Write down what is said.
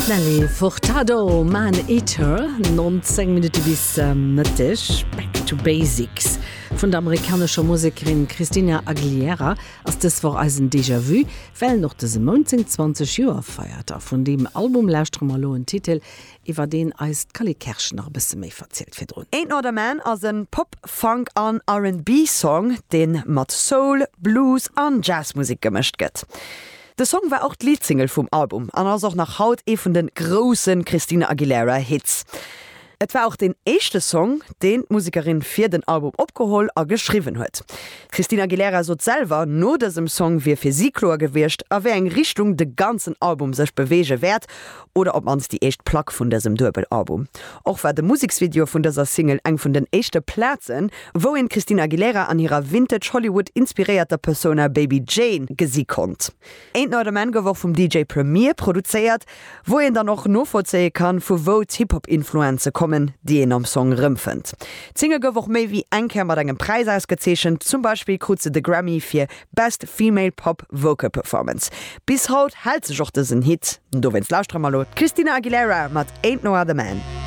Nelly Furtado, Man Eater, 19 Minutte bis Mëtteg. Back to Basics vun der amerikanescher Musekerin Christina Aguilera ass dës Woch eisen Déjà Vu, well en och dëse Mount seng 20 Joer feiert. A vun deem Album lauschtere mer elo en Titel, iwwer deen eis d'Cally Kerschen nach e bësse méi verzielt virdrun. Ain't No Other Man ass en Pop, Funk an R&B Song, deen mat Soul, Blues an Jazzmusek gemëscht gëtt. De Song war och d'Leadsingle vum Album an ass och nach haut ee vun de grousse Christina Aguilera Hits. Et war och deen éischte Song, deen d'Musekerin fir den Album opgeholl a geschriwwen huet. D'Christina Aguilera sot selwer, no dësem Song wier fir si kloer gewiescht, a wéi eng Richtung de ganzen Album sech beweege wäert, oder op d'mannst déi éischt Plack vun dësem Duebel-Album. Och war de Museksvideo vun dëser Single eng vun den éischte Plazen, wou een d'Christina Aguilera an hirer Vintage-Hollywood-inspiréierter Persona Baby Jane gesi konnt. Ain't No Other Man gouf och vum DJ Premier produzéiert, Wou een dann och novollzéie kann, vu wou d'Hip-Hop-Influenze kommen, déi een am Song rëmfënnt. D'Single gouf och méi wéi eng Kéier mat engem Präis ausgezeechent, zum Beispill krut se de Grammy fir Best Female Pop Vocal Performance. Bis haut hält sech och dësen Hit, dowéinst lauschtere mer elo d'Christina Aguilera mat Ain't No Other Man.